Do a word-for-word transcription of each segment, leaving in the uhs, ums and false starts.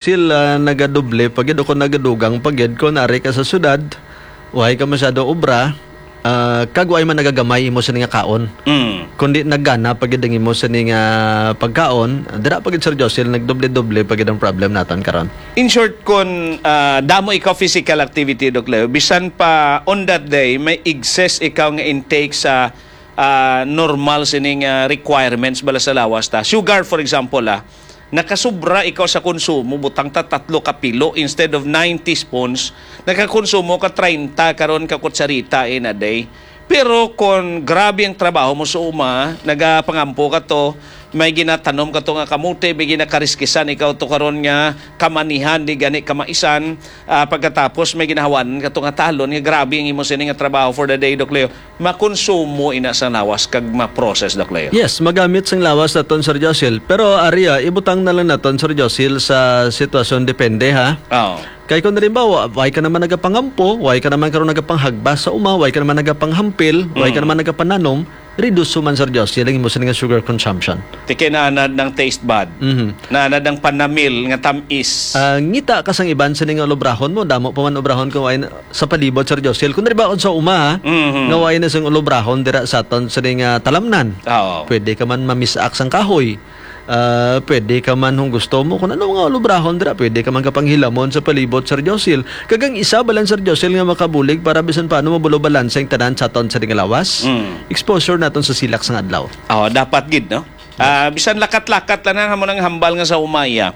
Sila nagadoble pa gid o kung nagadugang pa gid kung ari ka sa syudad, way ka masyado obra, ah, kag way man nagagamay imo sini nga kaon. Mm. Kundi nagana pa gid ang imo sini nga pagkaon, dira pa gid, Sir Josil, nagdoble-doble pa gid ang problem naton karon. In short, kun, ah, damo ikaw physical activity, Doc Leo, bisan pa on that day, may excess ikaw nga intake sa, ah, normal sining, ah, requirements bala sa lawas ta. Sugar, for example, ah, nakasubra ikaw sa konsumo, butang ta tatlo ka pilo instead of nine teaspoons, nakakonsumo ka treinta karon ka kutsarita in a day. Pero kon grabe ang trabaho mo sa uma, nagapangampo ka to, may ginatanom ka to nga kamote, may ginakariskisan ikaw to karon nga kamanihan, di gani kamaisan, ah, pagkatapos may ginahawanan ka to nga talon, nga grabe ang imo sini nga trabaho for the day, Doc Leo, makonsumo ina sa lawas kag ma-process, Doc Leo. Yes, magamit sang lawas naton, Sir Josil. Pero ari, ah, ibutang na lang naton, Sir Josil, sa sitwasyon depende, ha? Oo. Kay kung halimbawa, way ka naman nagapangampo, way ka naman karon nagapanghagba sa uma, way ka naman nagapanghampil, way ka Mm. naman nagapananom, reduce man, Sir Josil, ang imo sini nga sugar consumption. Ti kay naanad ng taste bud. Mhm. Naanad ng panamil nga tamis. Ah, ngita ka sang iban sini nga ulubrahon mo, damo pa man obrahon kung way na, sa palibot, Sir Josil. Kung halimbawa, kung sa uma, ha, Mhm. nga way na sing ulubrahon dira sa aton sini nga talamnan. Oo. Pwede ka man mamisak sang kahoy. Ah, pwede ka man kung gusto mo, kung ano nga ulubrahon dira, pwede ka man kapanghilamon sa palibot, Sir Josil. Kag ang isa, balan, Sir Josil, nga makabulig para bisan paano mabulo balanse ang tanan sa aton sini nga lawas, Mm. exposure naton sa silak sang adlaw. Oh, dapat gid, no? Ah, bisan lakat-lakat lang na mo nang hambal nga sa umaya.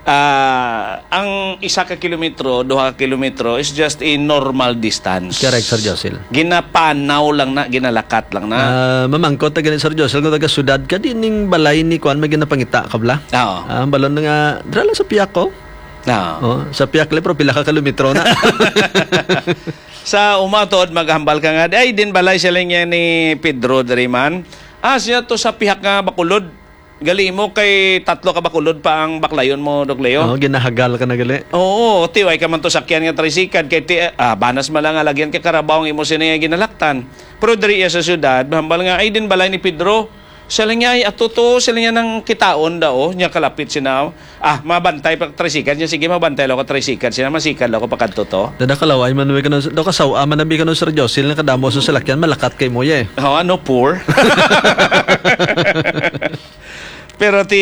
Ah, ang isa ka kilometro, duha ka kilometro is just a normal distance. Correct, Sir Josil. Ginapanaw lang na, ginalakat lang na. Ah, mamangkot na gani, Sir Josil, kung taga syudad ka, di ning balay ni kuan may ginapangita ka bala? Oo. Ah, ang balon na nga, dira lang sa piyak ko. Oo. Oh, sa piyak lang, pero pila ka kilometro na. Sa uma tuod, maghambal ka nga, "Ay, din balay siya lang yan ni Pedro diri man." Ah, siya to sa pihak nga Bacolod. Gali mo kay tatlo ka Bacolod pa ang baklayon mo, Doc Leo. Oo, ginahagal ka na gali. Oo, ti, way ka man to sakyan nga tricycle, kay ti, ah, banas man lang nga lagyan ka karabaw ang imo sini nga ginalaktan. Pero diri iya sa syudad, hambal nga, "Ay, din balay ni Pedro." Siya lang niya, "Ay, ato to," siya lang niya nang kitaon daw, niya kalapit sina. Ah, mabantay pa tricycle niya. "Sige, mabantay lang ako tricycle." Siya, "Masikad lang ako pakadto to." Dada kalaway man, may kanang, daw kasawa man nabi kanang Sir Josil, nga kadamo sa salakyan, malakat kay mo, ye. Oh, ano, poor? Pero ti,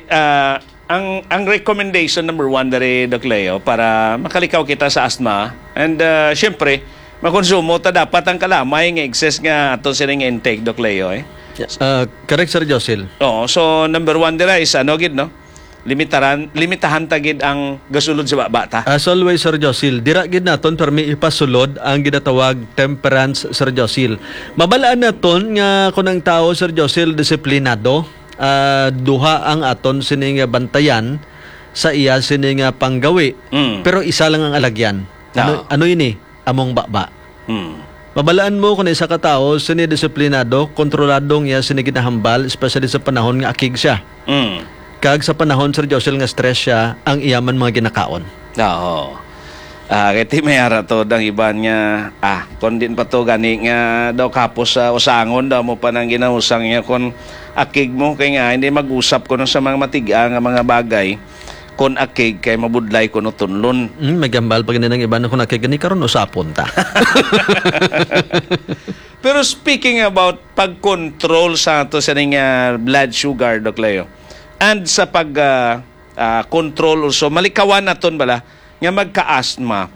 ah, ang, ang recommendation number one diri, Doc Leo, para makalikaw kita sa asthma, and, ah, syempre, makonsumo ta dapat ang kalamay nga excess nga ato sini nga intake, Doc Leo, eh. Yes. Ah, correct, Sir Josil. Oo, so number one dira is ano gid, no? Limitaran, limitahan ta gid ang gasulod sa baba ta. As always, Sir Josil, dira gid naton permi ipasulod ang ginatawag temperance, Sir Josil. Mabalaan naton nga kung ang tawo, Sir Josil, disiplinado, ah, duha ang aton sini nga bantayan sa iya sini nga panggawi, Mm. pero isa lang ang alagyan. Ano, Oo. ano ini? Among baba. Mm. Mabalaan mo kung isa ka tawo sini disiplinado, kontrolado ang iya sini ginahambal, especially sa panahon nga akig siya. Mm. Kag sa panahon, Sir Josil, nga stress siya, ang iya man mga ginakaon. Oo. Ah, kay ti may ara to ang iban nga, ah, kon din pa to gani nga daw kapos sa usangon daw mo pa nang ginausang niya kon akig mo kay nga hindi mag-usap kuno sa mga matiga nga mga bagay kon akig kay mabudlay kuno tunlon. Mm, may gambal pa gani ng iban na kung akig gani karon usapon ta. Pero speaking about pag-control sa ato sa ning, ah, blood sugar, Doc Leo, and sa pag, ah, ah, control also, malikawan naton bala nga magka-asthma.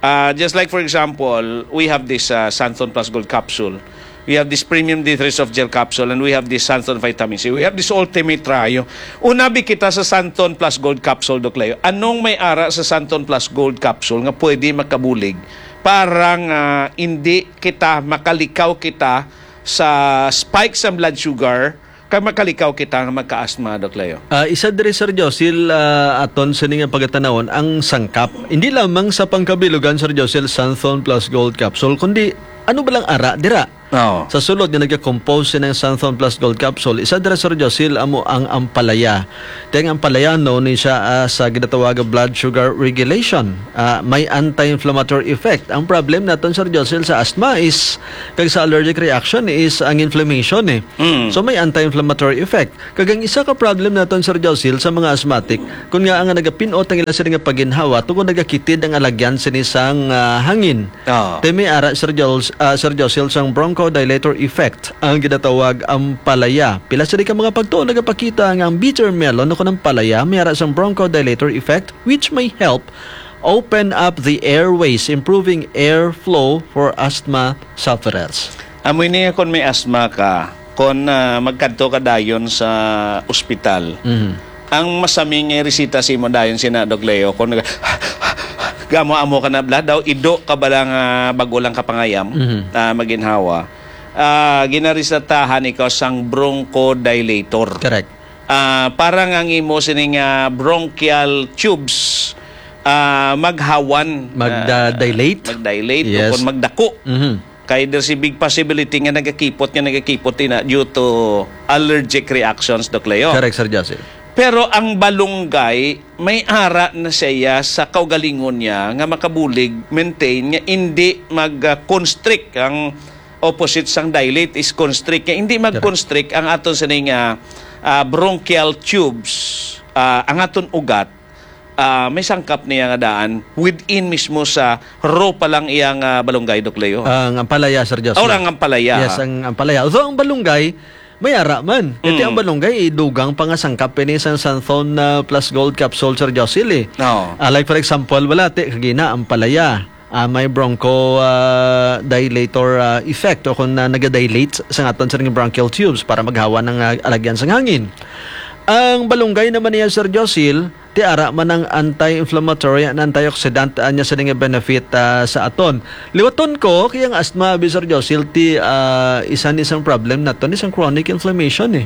Ah, just like, for example, we have this, ah, Santon Plus Gold capsule. We have this premium D three soft gel capsule, and we have this Santon vitamin C. We have this Ultimate Trio. Unabi kita sa Santon Plus Gold capsule, Doc Leo. Anong may ara sa Santon Plus Gold capsule nga pwede makabulig para nga hindi kita makalikaw kita sa spike sa blood sugar kag makalikaw kita nga magka-asthma, Doc Leo? Ah, isa diri, Sir Josil, ah, aton sini nga pagatanawon ang sangkap. Hindi lamang sa pangkabilugan, Sir Josil, Santhon Plus Gold Capsule, kundi Ano ba lang ara dira? Oo. Sa sulod nga nagakompose sining Santhon Plus Gold Capsule, isa dira, Sir Josil, amo ang ampalaya. Kay ang ampalaya, no, ni siya, ah, sa ginatawag nga blood sugar regulation. Ah, may anti-inflammatory effect. Ang problem naton, Sir Josil, sa asthma is, kag sa allergic reaction is ang inflammation, eh. Mm. So, may anti-inflammatory effect. Kag ang isa ka problem naton, Sir Josil, sa mga asthmatic, kun nga ang nagapinot ang ila sini nga paginhawa, tungod nagakitid ang alagyan sini sang, ah, hangin. Oo. Te may ara, Sir Jol-, ah, Sir Josil, sang bronchodilator effect ang ginatawag ampalaya. Pila sini ka mga pagtuon nagapakita nga ang bitter melon o kon ampalaya may ara sang bronchodilator effect, which may help open up the airways, improving airflow for asthma sufferers. Amo ini nga kon may asthma ka, kon, ah, magkadto ka dayon sa ospital, Mhm. ang masami nga resita sa imo dayon sina, Doc Leo, kon nag-, gamo-amo ka na, bala daw, ido ka bala nga bag-o lang ka pangayam, Mhm. ah, maginhawa, ah, ginaresetahan ikaw sang bronchodilator. Correct. Ah, para nga ang imo sining, ah, bronchial tubes, ah, maghawan, Magda-, ah, dilate? Mag-dilate o Yes. kung magdako. Mhm. Kay there's a big possibility nga nagakipot, nga nagakipot ina due to allergic reactions, Doc Leo. Correct, Sir Josil. Pero ang balunggay, may ara na siya sa kaugalingon niya nga makabulig, maintain, nga indi mag-constrict. Ang opposite sang dilate is constrict. Nga indi Correct. mag-constrict ang aton sining, ah, ah, bronchial tubes, ah, ang aton ugat, ah, may sangkap niya nga daan within mismo sa raw pa lang iyang, ah, balunggay, Doc Leo. Ang ampalaya, Sir Josil. Or ang ampalaya. Yes, ang ampalaya. Although ang balunggay, may ara man. Kaya Mm. ang balunggay, idugang pa nga sangkap ini sa Santhon, ah, Plus Gold Capsule, Sir Josil, eh. Oo. Ah, like, for example, wala, ti, kagina, ampalaya. Ah, may broncho, ah, dilator, ah, effect o kung, ah, nagadilate sa aton sining bronchial tubes para maghawa ng, ah, alagyan sang hangin. Ang balunggay naman niya, Sir Josil, ti ara man ang anti-inflammatory and antioxidant, ah, niya sini nga benefit, ah, sa aton. Liwaton ko, kay ang asthma, abi, Sir Josil, ti, ah, isa ni sang problem naton, isang chronic inflammation, eh.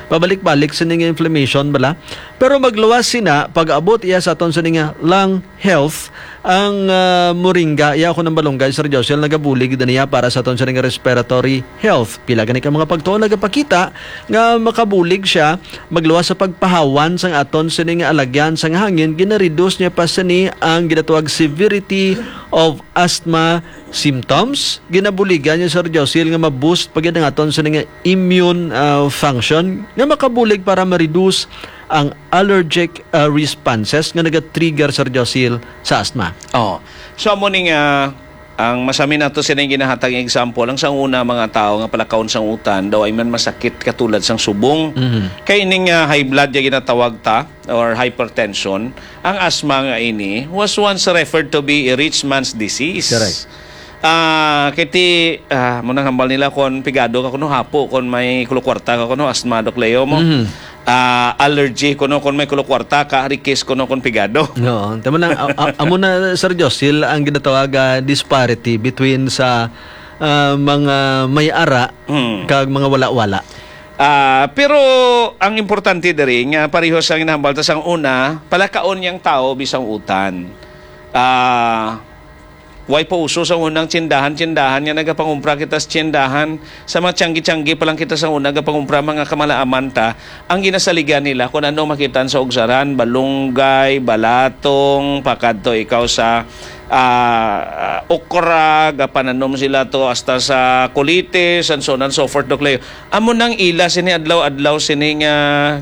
Pabalik-balik sini nga inflammation, bala. Pero magluwas sina, pag-abot iya sa aton sini nga lung health, ang, ah, moringa, iya ko ng balunggay, Sir Josil, nagabulig na niya para sa aton sini nga respiratory health. Pila gani ka mga pagtuon nagapakita nga makabulig siya magluwas sa pagpahawan sang aton sini nga alagyan sang hangin, ginareduce niya pa sini ang ginatawag severity of asthma symptoms. Ginabuligan niya, Sir Josil, nga ma-boost pa gid ang aton sini nga immune, ah, function nga makabulig para ma-reduce ang allergic, ah, responses nga naga-trigger, Sir Josil, sa asthma. Oh. So, amo ni nga, ang masami nato sining ginahatag nga example, ang sang una, mga tao nga palakaon sang utan, daw ay man masakit katulad sang subong. Mhm. Kay ining, ah, high blood nga ginatawag ta, or hypertension, ang asthma nga ini was once referred to be a rich man's disease. Correct. Ah, kay ti, ah, mo nang hambal nila kon pigado ka kuno hapo, kon may kulukwarta ka kuno asthma, Doc Leo mo. Mhm. Ah, allergy kuno kon may kulukwarta ka, rikis kuno kon pigado. Oo, tama na, a-, a-, amo na, Sir Josil, ang ginatawag, ah, disparity between sa, ah, mga may ara Mm. kag mga wala-wala. Ah, pero ang importante diri nga pareho sa ginahambal ta sang una, palakaon niyang tao bisang utan. Ah, way pa uso sa unang tsindahan-tsindahan nga nagapangumpra kita sa tsindahan. Sa mga tiyanggi-tiyanggi pa lang kita sa una, nagapangumpra mga kamalaaman ta. Ang ginasaligan nila kung ano makitan sa ugsaran, balunggay, balatong, pakadto ikaw sa, ah, okra, gapananom sila to hasta sa kulitis, and so on and so forth, Doc Leo. Amo nang ila sini adlaw-adlaw sini nga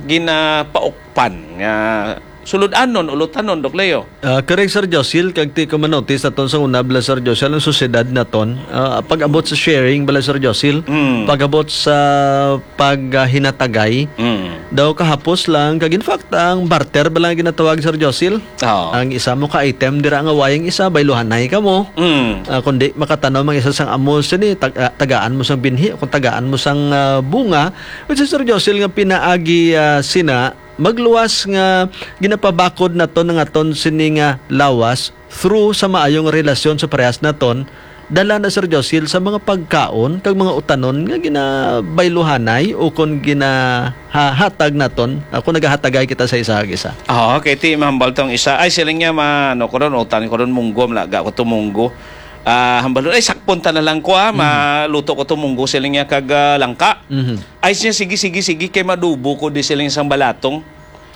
ginapaukpan nga sulod-anon, ulutanon, Doc Leo. Ah, correct, Sir Josil, kag ti ko manotis naton sa una, bala, Sir Josil, ang sosyedad naton, ah, pag-abot sa sharing, bala, Sir Josil, Mm. pag-abot sa paghinatagay, Mm. daw kahapos lang, kag in fact, ang barter, bala, nga ginatawag, Sir Josil, Oo. ang isa mo ka item, dira nga wayang isa, bayluhanay ka mo. Mm. Ah, kundi makatanom ang isa sang amo sini, tag-, ah, tagaan mo sang binhi, kung tagaan mo sang, ah, bunga, which is, Sir Josil, nga pinaagi, ah, sina, magluwas nga ginapabakod naton ang aton sini nga lawas through sa maayong relasyon sa parehas naton, dala na, Sir Josil, sa mga pagkaon kag mga utanon nga ginabayluhanay o kon ginahatag naton, ah, kon nagahatagay kita sa isa kag isa. Oo, kay ti mahambal tong isa. Ay, siling niya, ma-, ano ko ron, utan ko ron, munggo, malaga ko to munggo. Ah, hambalon, "Ay, sakpon ta na lang ko, ah, Mhm. maluto ko to munggo," siling niya, "kag, ah, langka." Mhm. Ay, siya, "Sige, sige, sige, kay madubo ko di," siling sang balatong.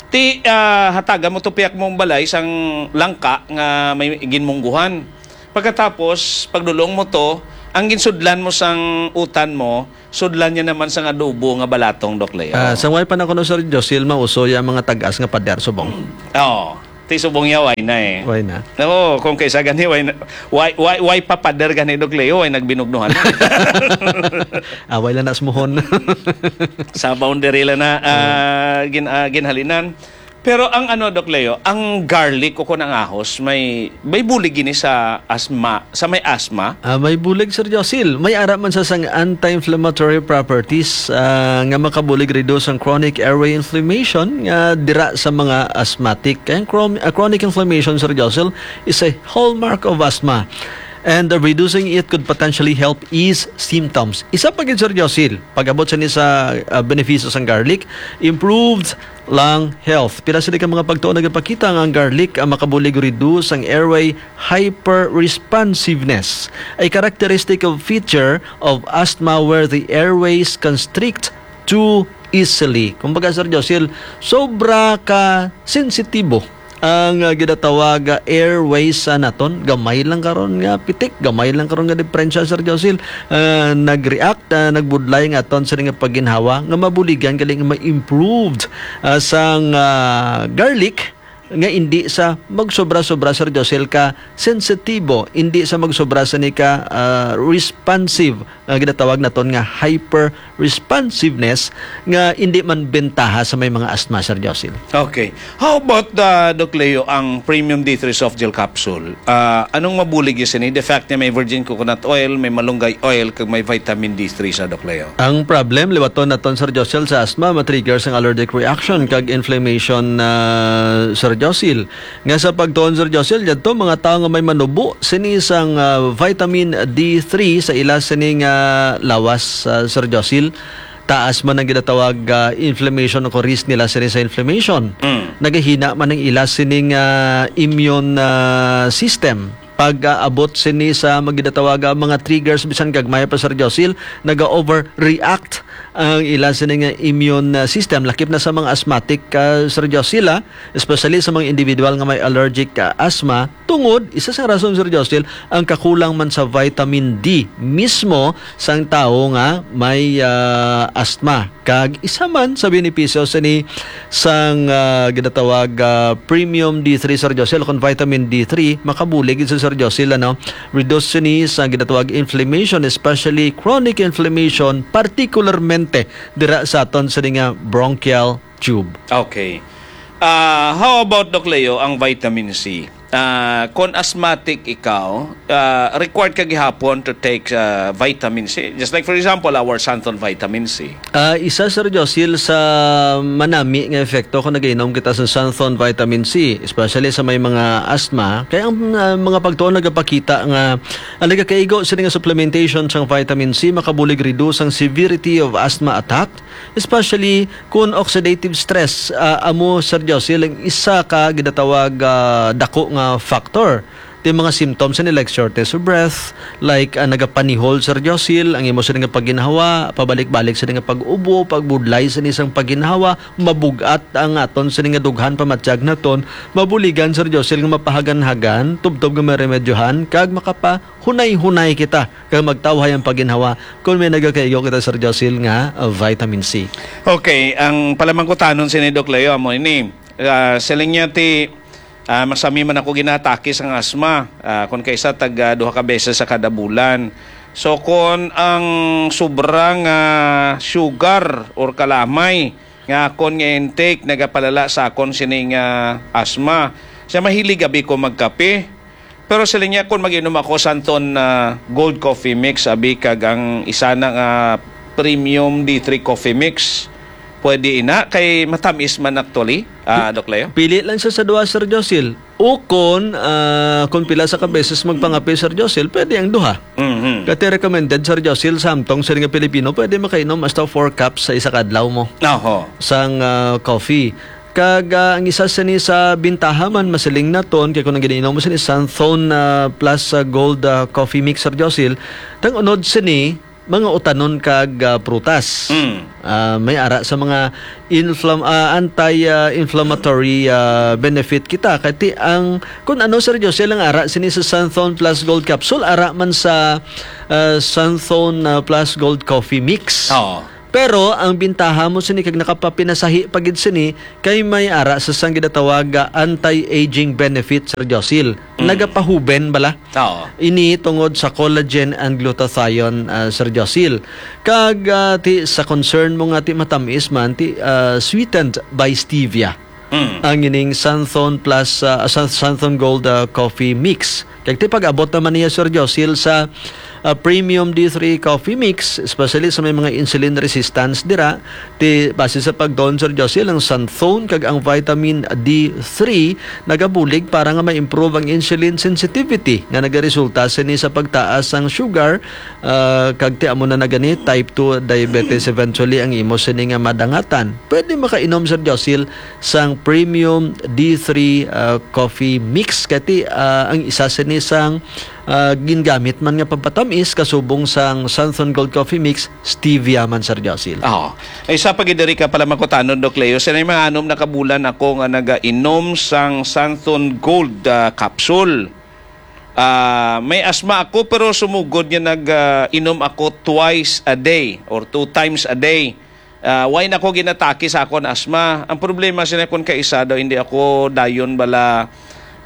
Ti, ah, hatagan mo to piyak mong balay sang langka nga may ginmungguhan. Pagkatapos, pagdulong mo to, ang ginsudlan mo sang utan mo, sudlan niya naman sang adobo nga balatong, Doc Leo. Ah, sa way pa na kuno, Sir Josil, mauso ya mga tag-as nga pader subong. Oo. Ti subong ya, way na eh. Way na. Oo, kung kaysa gani, way na, way, way, way pa pader gani, Doc Leo, way nagbinugnuhan. Away lang na smuhon. Sa boundary lang na, ah, gin-, ah, ginhalinan. Pero ang ano, Doc Leo, ang garlic o kung ang ahos, may, may bulig gini sa asma, sa may asma? Ah, may bulig, Sir Josil. May ara man sa sang anti-inflammatory properties, ah, nga makabulig reduce ang chronic airway inflammation nga dira sa mga asthmatic. Kaya ang chron-, ah, chronic inflammation, Sir Josil, is a hallmark of asthma. And, uh, reducing it could potentially help ease symptoms. Isa pa gid, Sir Josil, pag-abot sa ni sa, uh, benepisyo sang garlic, improved lung health. Pila sila ka mga pagtuon nagapakita nga ang garlic ang makabulig reduce ang airway hyperresponsiveness, a characteristic of feature of asthma where the airways constrict too easily. Kumbaga, Sir Josil, sobra ka sensitibo ang, ah, ginatawag, ah, airways sa naton. Gamay lang karon nga pitik, gamay lang karon nga diperensya, Sir Josil, ah, nag-react, ah, nagbudlay nga aton sa nga pagginhawa nga mabuligan gali nga ma-improved, ah, sang, ah, garlic nga indi sa magsobra-sobra, Sir Josil, ka sensitibo, indi sa magsobra sa ni ka, ah, responsive, nga ginatawag naton nga hyper-responsiveness, nga indi man bentaha sa may mga asthma, Sir Josil. Okay. How about, uh, Doc Leo, ang Premium D three Soft Gel Capsule? Ah, anong mabulig yun sini? The fact niya may virgin coconut oil, may malunggay oil, kag may vitamin D three sa, Doc Leo. Ang problem, liwaton naton, Sir Josil, sa asthma, matrigger sang allergic reaction kag inflammation, ah, Sir Josil. Nga sa pagtuon, Sir Josil, yadto mga tawo nga may manubo sini sang, ah, vitamin D three sa ila sini nga lawas, ah, Sir Josil, taas man ang ginatawag, ah, inflammation o risk nila sini sa inflammation. Mm. Nagahina man ang ila sini nga immune, ah, system. Pag, ah, abot sini sa mga ginatawag, ah, mga triggers, bisan gagmay pa, Sir Josil, naga-overreact ang ila sini nga immune, ah, system, lakip na sa mga asthmatic, ah, Sir Josil, ah. Especially sa mga individual nga may allergic, ah, asthma, tungod, isa sa rason, Sir Josil, ang kakulang man sa vitamin D mismo sang tawo nga may, ah, asthma. Kag isa man sa benepisyo sini sang, ah, ginatawag, ah, premium D three, Sir Josil, kung vitamin D three, makabulig gid sa, Sir Josil, ano, reduce sini sa ginatawag inflammation, especially chronic inflammation, particularmente dira sa aton sini nga bronchial tube. Okay. Ah, how about, Doc Leo, ang vitamin C? Ah, kung asthmatic ikaw, ah, required ka gihapon to take, ah, vitamin C. Just like, for example, our Santon vitamin C. Ah, isa, Sir Josil, sa manami nga epekto kung nagainom kita sa Santon vitamin C, especially sa may mga asthma. Kaya ang, ah, mga pagtuon nagapakita nga ang nagakaigo sini nga supplementation sang vitamin C makabulig reduce ang severity of asthma attack, especially kun oxidative stress, ah, amo, Sir Josil, ang isa ka ginatawag, ah, dako nga factor. Ti mga symptoms ni, like shortness of breath, like, ah, nagapanihol, Sir Josil, ang imo sini nga pagginhawa, pabalik-balik sini nga pag-ubo, pagbudlay sini sang pagginhawa, mabug-at ang aton sini nga dughan, pamatyag naton, mabuligan, Sir Josil, nga mapahagan-hagan, tubtob nga maremedyohan, kag makapahunay-hunay kita kag magtawhay ang pagginhawa kung may nagakaigo kita, Sir Josil, nga, ah, vitamin C. Okay, ang palamangkutanon sini, Doc Leo, amo ini. Ah, siling niya ti, ah, masami man ako ginatake sang asma. Ah, kung kaisa tag, ah, duha ka beses sa kada bulan. So, kung ang sobra nga sugar or kalamay nga akon nga intake nagapalala sa akon sining, ah, asma, siya mahilig abi ko magkape. Pero siling niya, kung mag-inom ako santon, ah, Gold Coffee Mix, abi, kag ang isa na nga Premium D three Coffee Mix, pwede ina, kay matamis man actually, ah, Doc Leo. Pili lang siya sa duha, Sir Josil. Ukon, ah, kung pila sa ka beses magpangape, Sir Josil, pwede ang duha. Mhm. Kati recommended, Sir Josil, samtong siling nga Pilipino, pwede makainom hasta four cups sa isa ka adlaw mo Oho. sang, ah, coffee. Kag, ah, ang isa sini sa bintaha man, masiling naton, kay kung ang giniinom mo sini, Santhon, ah, plus, ah, Gold, ah, Coffee Mix, Sir Josil, tang unod sini, mga utanon kag, ah, prutas. Mm. Ah, may ara sa mga inflam-, ah, anti, ah, inflammatory, ah, benefit kita. Kay ti ang, kung ano, Sir Josil, ang ara sini sa Santhon plus Gold Capsule, ara man sa, ah, Santhon, ah, plus Gold Coffee Mix. Oo. Pero ang bintaha mo sini kag nakapapinasahi pa gid sini kay may ara sa sang ginatawag nga anti-aging benefit, Sir Josil. Mm. Nagapahuben bala. Oo. Ini tungod sa collagen and glutathione, ah, Sir Josil. Kag, ah, ti sa concern mo nga ti matamis man, ti, ah, sweetened by stevia. Mm. Ang ining Santhon plus, ah, San-, Santhon Gold, ah, Coffee Mix. Kag ti pag-abot naman niya, Sir Josil, sa, ah, Premium D three Coffee Mix, especially sa may mga insulin resistance dira, ti base sa pagtuon, Sir Josil, ang Santhon kag ang vitamin D three nagabulig para nga ma-improve ang insulin sensitivity nga nagaresulta sini sa pagtaas sang sugar, ah, kag ti amo na na gani type two diabetes eventually ang imo sini nga madangatan. Pwede makainom, Sir Josil, sang Premium D three, ah, Coffee Mix. Kay ti, ah, ang isa sini sang, ah, gingamit man nga pampatamis kasubong sang Santhon Gold Coffee Mix, stevia man, Sir Josil. Oo. Ay, isa pa gid diri ka pala makutanon, Doc Leo. Sa mga anom na kabulan ako nga nagainom sang Santhon Gold, ah, capsule. Ah, may asma ako, pero sumugod nga nag, ah, inom ako twice a day or two times a day. Ah, why nako ginatake sa akon asma? Ang problema sila, kun kaisa daw, hindi ako dayon bala,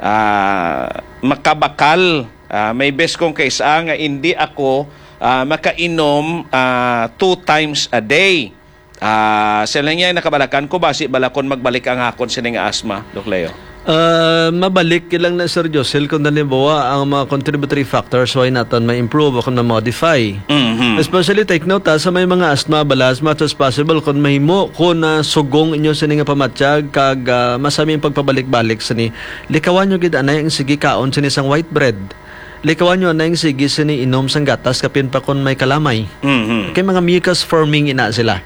ah, makabakal. Ah, may best kong kaisa nga hindi ako, ah, makainom, ah, two times a day. Ah, sila niya, nakabalakan ko, basi bala kon magbalik ang akon sini nga asma, Doc Leo. Ah, mabalik lang na, Sir Josel, kung halimbawa ang mga contributory factors, why naton ma-improve o kung ma-modify. Mhm. Especially, take note, ha, sa may mga asthma, bala, as much as possible, kung mahimo, kung, ah, sugong inyo sini nga pamatyag, kag, ah, masami ang pagpabalik-balik sini, likawan nyo gid anay ang sige kaon sini sang white bread. Likawan nyo anay ang sige sini inom sang gatas, kapin pa kung may kalamay. Mhm. Kay mga mucus forming ina sila.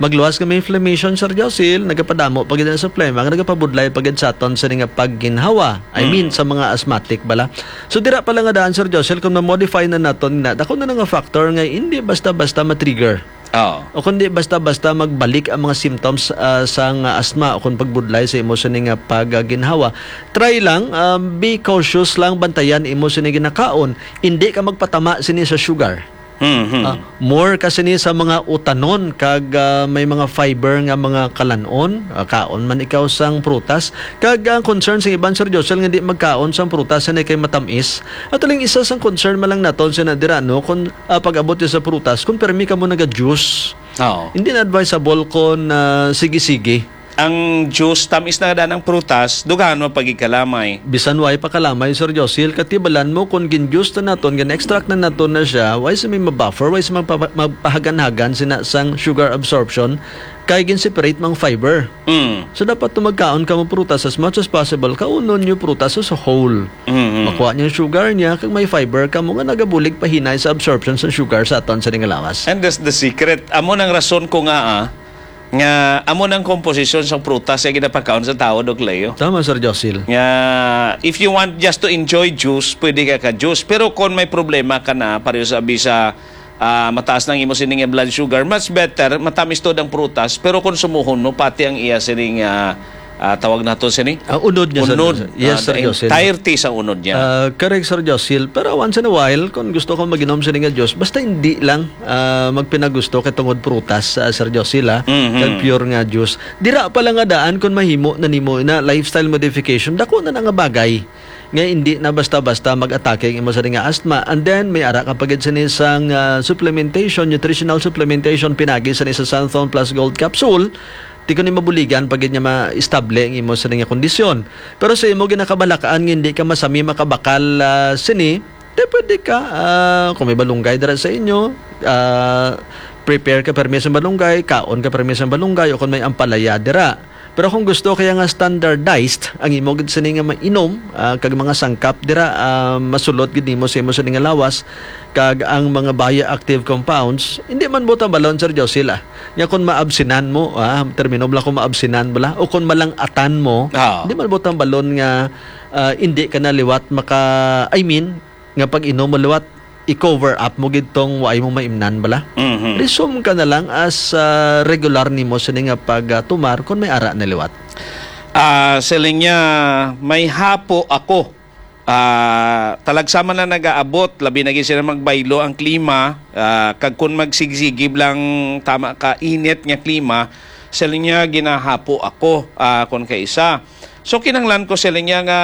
Magluwas nga may inflammation, Sir Josil, nagapadamo pa gid ang sa plema, nga nagapabudlay pa gid sa aton sini nga pagginhawa. I Mm. mean, sa mga asthmatic bala. So, dira pa lang nga daan, Sir Josil, kung ma-modify na naton na, dako na nga factor nga hindi basta-basta ma-trigger. Oo. O kundi basta-basta magbalik ang mga symptoms, ah, sang asthma o kung pagbudlay sa imo sini nga pagginhawa. Try lang, um, be cautious lang, bantayan imo sini ginakaon. Hindi ka magpatama sini sa sugar. Mhm. Ah, more ka sini sa mga utanon kag, ah, may mga fiber nga mga kalan-on, ah, kaon man ikaw sang prutas. Kag ang concern sa iban, Sir Josel, nga di magkaon sang prutas nga kay matamis. At aling isa sang concern man lang naton sa nadira, no, kung, ah, pag-abot sa prutas, kung permi ka mo naga-juice. Oo. Hindi na advisable kung, ah, sige-sige. Ang juice, tamis na nga daan ang prutas, dughan mo pagigkalamay. Bisan way pa kalamay, Sir Josil, katibalan mo kung gin-juice na naton, gin-extract na naton na siya, way sa may mabuffer, way sa magpa-, magpahagan-hagan sina sang sugar absorption, kay gin-separate mang fiber. Mm. So, dapat to magkaon ka mo prutas as much as possible, kaunon nyo prutas as a whole. Mm-hmm. Makuha niyo ang sugar niya, kag may fiber ka mo nga nagabulig pahinay sa absorption sa sugar sa aton sa nga lawas. And that's the secret. Amo nang rason ko nga, ah, nga amo nang komposisyon sa prutas nga ginapakaon sa tao, Doc Leo. Tama, Sir Josil. Nga, if you want just to enjoy juice, pwede ka ka-juice. Pero kung may problema ka na, pareho sa abi sa, ah, mataas ng imo sining blood sugar, much better, matamis to ang prutas, pero konsumuhon mo pati ang iya sining, ah, ah, tawag nato sini? Ang unod niya, Sir Unod. Josil. Yes, Ah, Sir the Josil. entirety sa unod niya. Ah, correct, Sir Josil. Pero once in a while, kung gusto ko mag-inom sini nga juice, basta hindi lang, ah, magpinagusto kay tungod prutas, ah, Sir Josil, ah, Mhm. kag pure nga juice. Dira pa lang nga daan kung mahimo na nimo na lifestyle modification, dako na na nga bagay nga hindi na basta-basta mag-atake ang imo sa nga asthma. And then, may ara ka pa gid sini sang, ah, supplementation, nutritional supplementation, pinagi sini sa Santhon Plus Gold Capsule. Di ko ni mabuligan pa gid nga maestable ang imo sa nga kondisyon. Pero sa imo ginakabalakaan nga hindi ka masami makabakal, ah, sini, di pwede ka, ah, kung may balunggay dira sa inyo, ah, prepare ka permi sa balunggay, kaon ka permi sa balunggay, o kung may ampalaya dira. Pero kung gusto kaya nga standardized ang imo gid sini nga mainom, ah, kag mga sangkap dira, ah, masulod gid nimo sa imo sini nga lawas, Kag ang mga bioactive compounds, hindi man butang balon, Sir Josil, ah. Nya kung maabsinan mo, ah, termino bala kung maabsinan bala, o kung malang-atan mo, Ah. hindi man butang balon nga ah, hindi ka na liwat maka, I mean, nga pag-inom mo liwat, i-cover up mo gid tong waay mo maimnan bala. Mhm. Resume ka na lang as ah, regular nimo sini nga pagtumar kung may ara na liwat. Ah, siling niya, may hapo ako. Ah, talagsa man lang nagaabot, labi na gid sila magbaylo ang klima, ah, kag kun magsigsigib lang tama ka init nga klima, siling niya ginahapo ako, ah, kun kaisa. So kinahanglan ko siling niya nga